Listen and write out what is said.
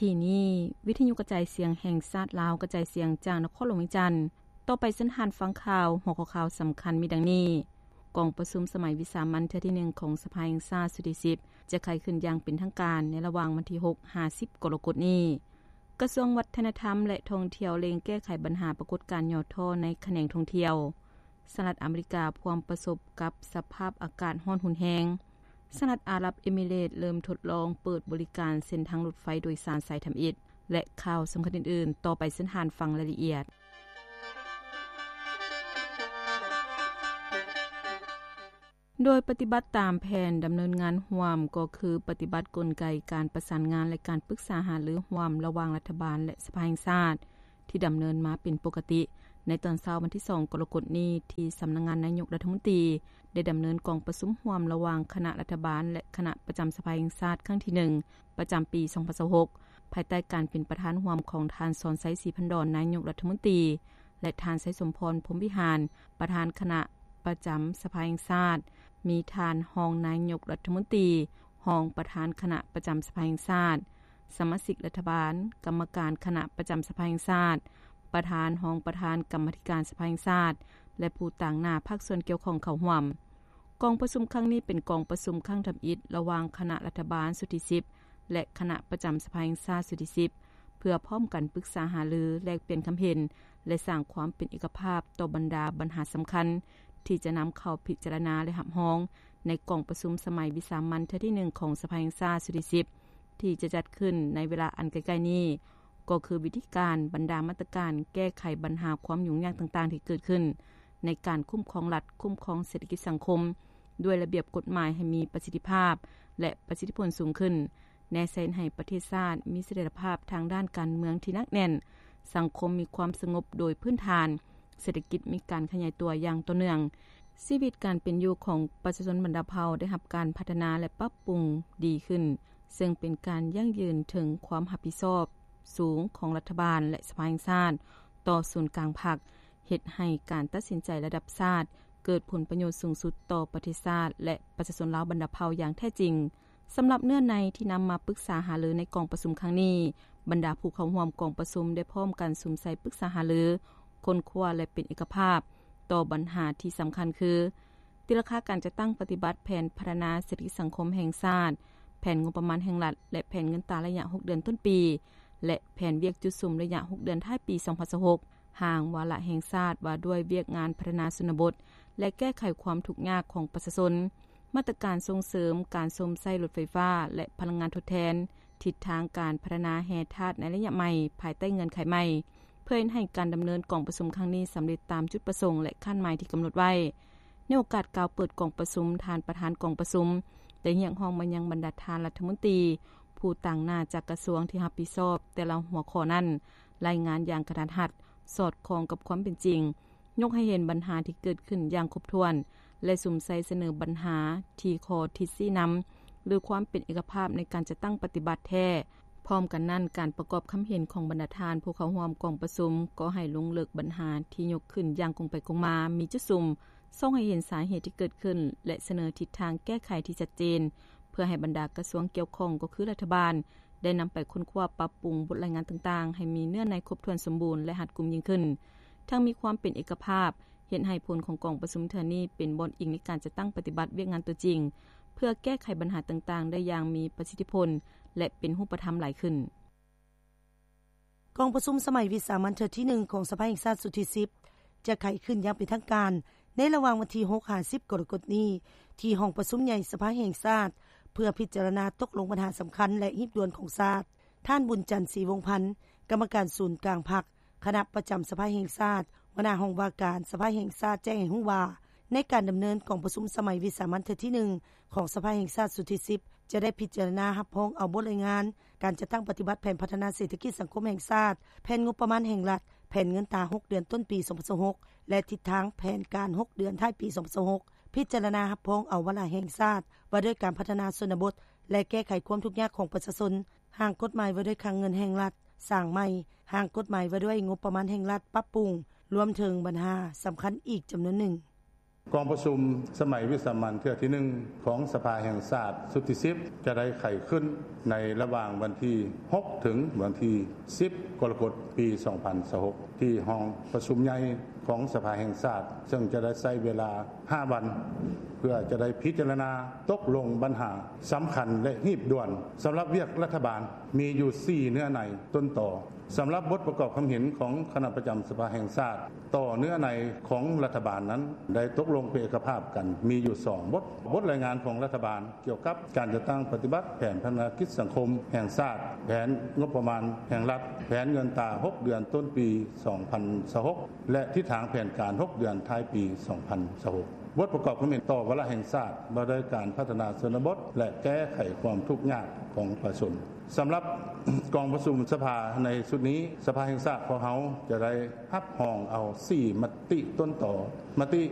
ທີ່ນີ້ ວິທະຍຸກະຈາຍສຽງແຫ່ງຊາດລາວ ກະຈາຍສຽງຈາກນະຄອນຫຼວງວຽງຈັນ. ຕໍ່ໄປເຊີນທ່ານຟັງຂ່າວ. ຫົວຂໍ້ຂ່າວສຳຄັນມີດັ່ງນີ້: ກອງປະຊຸມສະໄໝວິສາມັນເທື່ອທີໜຶ່ງຂອງສະພາແຫ່ງຊາດຊຸດທີສິບ ຈະໄຂຂຶ້ນຢ່າງເປັນທາງການໃນລະຫວ່າງວັນທີຫົກຫາສິບກໍລະກົດນີ້. ກະຊວງວັດທະນະທຳ ແລະ ທ່ອງທ່ຽວເລັ່ງແກ້ໄຂບັນຫາປາກົດການຫຍໍ້ທໍ້ໃນຂະແໜງທ່ອງທ່ຽວ. ສະຫະລັດອາເມລິກາພວມປະສົບກັບສະພາບອາກາດຮ້ອນຮຸນແຮງ. ສະຫະລັດອາຣັບເອມິເຣດເລີ່ມທົດລອງເປີດບໍລິການເສັ້ນທາງລົດໄຟໂດຍສານສາຍທຳອິດ ແລະ ຂ່າວສຳຄັນອື່ນໆ. ຕໍ່ໄປເຊີນທ່ານຟັງລາຍລະອຽດ. ໂດຍປະຕິບັດຕາມແຜນດຳເນີນງານຮ່ວມ ກໍຄືປະຕິບັດກົນໄກການປະສານງານ ແລະ ການປຶກສາຫາລືຮ່ວມລະຫວ່າງລັດຖະບານ ແລະ ສະພາແຫ່ງຊາດ ທີ່ດຳເນີນມາເປັນປົກກະຕິ. ໃນຕອນເຊົ້າວັນທີສອງກໍລະກົດນີ້ ທີ່ສຳນັກງານນາຍົກລັດຖະມົນຕີ ໄດ້ດຳເນີນກອງປະຊຸມຮ່ວມລະຫວ່າງຄະນະລັດຖະບານ ແລະ ຄະນະປະຈຳສະພາແຫ່ງຊາດຄັ້ງທີໜຶ່ງ ປະຈຳປີສອງພັນຊາວຫົກ ພາຍໃຕ້ການເປັນປະທານຮ່ວມຂອງທ່ານ ສອນໄຊ ສີພັນດອນ ນາຍົກລັດຖະມົນຕີ ແລະ ທ່ານ ໄຊສົມພອນ ພົມວິຫານ ປະທານຄະນະປະຈຳສະພາແຫ່ງຊາດ, ມີທ່ານຮອງນາຍົກລັດຖະມົນຕີ, ຮອງປະທານຄະນະປະຈຳສະພາແຫ່ງຊາດ, ສະມາຊິກລັດຖະບານ, ກຳມະການຄະນະປະຈຳສະພາແຫ່ງຊາດ, ປະທານ, ຮອງປະທານກຳມາທິການສະພາແຫ່ງຊາດ ແລະ ຜູ້ຕາງໜ້າພາກສ່ວນກ່ຽວຂ້ອງເຂົ້າຮ່ວມ. ກອງປະຊຸມຄັ້ງນີ້ເປັນກອງປະຊຸມຄັ້ງທຳອິດລະຫວ່າງຄະນະລັດຖະບານຊຸດທີສິບ ແລະ ຄະນະປະຈຳສະພາແຫ່ງຊາດຊຸດທີສິບ ເພື່ອພ້ອມກັນປຶກສາຫາລື, ແລກປ່ຽນຄຳເຫັນ ແລະ ສ້າງຄວາມເປັນເອກະພາບຕໍ່ບັນດາບັນຫາສຳຄັນ ທີ່ຈະນຳເຂົ້າພິຈາລະນາ ແລະ ຮັບຮອງໃນກອງປະຊຸມສະໄໝວິສາມັນເທື່ອທີໜຶ່ງຂອງສະພາແຫ່ງຊາດຊຸດທີສິບ ທີ່ຈະຈັດຂຶ້ນໃນເວລາອັນໃກ້ໆນີ້ ກໍຄືວິທີການ, ບັນດາມາດຕະການແກ້ໄຂບັນຫາຄວາມຫຍຸ້ງຍາກຕ່າງໆທີ່ເກີດຂຶ້ນໃນການຄຸ້ມຄອງລັດ, ຄຸ້ມຄອງເສດຖະກິດສັງຄົມ ດ້ວຍລະບຽບກົດໝາຍໃຫ້ມີປະສິດທິພາບ ແລະ ປະສິດທິຜົນສູງຂຶ້ນ, ແນໃສ່ໃຫ້ປະເທດຊາດມີສະຖຽນລະພາບທາງດ້ານການເມືອງທີ່ໜັກແໜ້ນ, ສັງຄົມມີຄວາມສະຫງົບໂດຍພື້ນຖານ, ເສດຖະກິດມີການຂະຫຍາຍຕົວຢ່າງຕໍ່ເນື່ອງ, ຊີວິດການເປັນຢູ່ຂອງປະຊາຊົນບັນດາເຜົ່າໄດ້ຮັບການພັດທະນາ ແລະ ປັບປຸງດີຂຶ້ນ, ເຊິ່ງເປັນການຢັ້ງຢືນເຖິງຄວາມຮັບຜິດຊອບສູງຂອງລັດຖະບານ ແລະ ສະພາແຫ່ງຊາດຕໍ່ສູນກາງພັກ, ເຮັດໃຫ້ການຕັດສິນໃຈລະດັບຊາດເກີດຜົນປະໂຫຍດສູງສຸດຕໍ່ປະເທດຊາດ ແລະ ປະຊາຊົນລາວບັນດາເຜົ່າຢ່າງແທ້ຈິງ. ສຳລັບເນື້ອໃນທີ່ນຳມາປຶກສາຫາລືໃນກອງປະຊຸມຄັ້ງນີ້, ບັນດາຜູ້ເຂົ້າຮ່ວມກອງປະຊຸມໄດ້ພ້ອມກັນສຸມໃສ່ປຶກສາຫາລື, ຄົ້ນຄວ້າ ແລະ ເປັນເອກະພາບຕໍ່ບັນຫາທີ່ສຳຄັນຄື ຕີລາຄາການຈັດຕັ້ງປະຕິບັດແຜນພັດທະນາເສດຖະກິດສັງຄົມແຫ່ງຊາດ, ແຜນງົບປະມານແຫ່ງລັດ ແລະ ແຜນເງິນຕາໄລຍະຫົກເດືອນຕົ້ນປີ ແລະ ແຜນວຽກຈຸດສຸມໄລຍະຫົກເດືອນທ້າຍປີສອງພັນຊາວຫົກ, ຮ່າງວາລະແຫ່ງຊາດວ່າດ້ວຍວຽກງານພັດທະນາຊົນນະບົດ ແລະ ແກ້ໄຂຄວາມທຸກຍາກຂອງປະຊາຊົນ, ມາດຕະການສົ່ງເສີມການຊົມໃຊ້ລົດໄຟຟ້າ ແລະ ພະລັງງານທົດແທນ, ທິດທາງການພັດທະນາແຮ່ທາດໃນໄລຍະໃໝ່ ພາຍໃຕ້ເງື່ອນໄຂໃໝ່, ເພື່ອເຮັດໃຫ້ການດຳເນີນກອງປະຊຸມຄັ້ງນີ້ສຳເລັດຕາມຈຸດປະສົງ ແລະ ຄາດໝາຍທີ່ກຳນົດໄວ້. ໃນໂອກາດກ່າວເປີດກອງປະຊຸມ, ທ່ານປະທານກອງປະຊຸມໄດ້ຮຽກຮ້ອງມາຍັງບັນດາທ່ານລັດຖະມົນຕີ, ຜູ້ຕາງໜ້າຈາກກະຊວງທີ່ຮັບຜິດຊອບແຕ່ລະຫົວຂໍ້ນັ້ນ, ລາຍງານຢ່າງກະທັດຮັດ, ສອດຄ່ອງກັບຄວາມເປັນຈິງ, ຍົກໃຫ້ເຫັນບັນຫາທີ່ເກີດຂຶ້ນຢ່າງຄົບຖ້ວນ ແລະ ສຸມໃສ່ສະເໜີບັນຫາທີ່ຂໍ້ທິດຊີ້ນຳ ຫຼື ຄວາມເປັນເອກະພາບໃນການຈັດຕັ້ງປະຕິບັດແທ້. ພ້ອມກັນນັ້ນ, ການປະກອບຄຳເຫັນຂອງບັນດາທ່ານຜູ້ເຂົ້າຮ່ວມກອງປະຊຸມກໍໃຫ້ລົງເລິກບັນຫາທີ່ຍົກຂຶ້ນຢ່າງກົງໄປກົງມາ, ມີຈຸດສຸມ, ສ່ອງໃຫ້ເຫັນສາເຫດທີ່ເກີດຂຶ້ນ ແລະ ສະເໜີທິດທາງແກ້ໄຂທີ່ຊັດເຈນ, ເພື່ອໃຫ້ບັນດາກະຊວງກ່ຽວຂ້ອງ ກໍຄືລັດຖະບານ ໄດ້ນຳໄປຄົ້ນຄວ້າປັບປຸງບົດລາຍງານຕ່າງໆ ໃຫ້ມີເນື້ອໃນຄົບຖ້ວນສົມບູນ ແລະ ຮັດກຸມຍິ່ງຂຶ້ນ, ທັງມີຄວາມເປັນເອກະພາບ, ເຮັດໃຫ້ຜົນຂອງກອງປະຊຸມເທື່ອນີ້ເປັນບ່ອນອີງໃນການຈັດຕັ້ງປະຕິບັດວຽກງານຕົວຈິງ, ເພື່ອແກ້ໄຂບັນຫາຕ່າງໆໄດ້ຢ່າງມີປະສິດທິຜົນ ແລະ ເປັນຮູບປະທຳຫຼາຍຂຶ້ນ. ກອງປະຊຸມສະໄໝວິສາມັນເທື່ອທີໜຶ່ງຂອງສະພາແຫ່ງຊາດຊຸດທີສິບ ຈະໄຂຂຶ້ນຢ່າງເປັນທາງການໃນລະຫວ່າງວັນທີຫົກຫາສິບກໍລະກົດນີ້ ທີ່ຫ້ອງປະຊຸມໃຫຍ່ສະພາແຫ່ງຊາດ ເພື່ອພິຈາລະນາຕົກລົງບັນຫາສຳຄັນ ແລະ ຮີບດ່ວນຂອງຊາດ. ທ່ານ ບຸນຈັນ ສີວົງພັນ ກຳມະການສູນກາງພັກ, ຄະນະປະຈຳສະພາແຫ່ງຊາດ, ຫົວໜ້າຫ້ອງວ່າການສະພາແຫ່ງຊາດ ແຈ້ງໃຫ້ຮູ້ວ່າ ໃນການດຳເນີນກອງປະຊຸມສະໄໝວິສາມັນເທື່ອທີໜຶ່ງຂອງສະພາແຫ່ງຊາດຊຸດທີສິບ ຈະໄດ້ພິຈາລະນາຮັບຮອງເອົາບົດລາຍງານການຈັດຕັ້ງປະຕິບັດແຜນພັດທະນາເສດຖະກິດສັງຄົມແຫ່ງຊາດ, ແຜນງົບປະມານແຫ່ງລັດ, ແຜນເງິນຕາຫົກເດືອນຕົ້ນປີສອງພັນຊາວຫົກ ແລະ ທິດທາງແຜນການຫົກເດືອນທ້າຍປີສອງພັນຊາວຫົກ, ພິຈາລະນາຮັບຮອງເອົາວາລະແຫ່ງຊາດວ່າດ້ວຍການພັດທະນາຊົນນະບົດ ແລະ ແກ້ໄຂຄວາມທຸກຍາກຂອງປະຊາຊົນ, ຮ່າງກົດໝາຍວ່າດ້ວຍຄັງເງິນແຫ່ງລັດສ້າງໃໝ່, ຮ່າງກົດໝາຍວ່າດ້ວຍງົບປະມານແຫ່ງລັດປັບປຸງ, ລວມເຖິງບັນຫາສຳຄັນອີກຈຳນວນໜຶ່ງ. ກອງປະຊຸມສະໄໝວິສາມັນເທື່ອທີໜຶ່ງຂອງສະພາແຫ່ງຊາດຊຸດທີສິບ ຈະໄດ້ໄຂຂຶ້ນໃນລະຫວ່າງວັນທີຫົກ ເຖິງວັນທີສິບ ກໍລະກົດ ປີສອງພັນຊາວຫົກ ທີ່ຫ້ອງປະຊຸມໃຫຍ່ຂອງສະພາແຫ່ງຊາດ ເຊິ່ງຈະໄດ້ໃຊ້ເວລາຫ້າວັນ ເພື່ອຈະໄດ້ພິຈາລະນາຕົກລົງບັນຫາສຳຄັນ ແລະ ຮີບດ່ວນສຳລັບວຽກລັດຖະບານ ມີຢູ່ສີ່ເນື້ອໃນຕົ້ນຕໍ. ສຳລັບບົດປະກອບຄຳເຫັນຂອງຄະນະປະຈຳສະພາແຫ່ງຊາດ ຕໍ່ເນື້ອໃນຂອງລັດຖະບານນັ້ນ ໄດ້ຕົກລົງເປັນເອກະພາບກັນ ມີຢູ່ສອງບົດ. ບົດລາຍງານຂອງລັດຖະບານກ່ຽວກັບການຈັດຕັ້ງປະຕິບັດແຜນພັດທະນາກິດສັງຄົມແຫ່ງຊາດ, ແຜນງົບປະມານແຫ່ງລັດ, ແຜນເງິນຕາຫົກເດືອນຕົ້ນປີສອງພັນຊາວຫົກ ແລະ ທິດທາງແຜນການຫົກເດືອນທ້າຍປີສອງພັນຊາວຫົກ. ບົດປະກອບຄຳເຫັນຕໍ່ວາລະແຫ່ງຊາດ ວ່າດ້ວຍການພັດທະນາຊົນນະບົດ ແລະ ແກ້ໄຂຄວາມທຸກຍາກຂອງປະຊາຊົນ. ສຳລັບກອງປະຊຸມສະພາໃນຊຸດນີ້, ສະພາແຫ່ງຊາດຂອງເຮົາຈະໄດ້ຮັບຮອງເອົາສີ່ມະຕິຕົ້ນຕໍ. ມະຕິ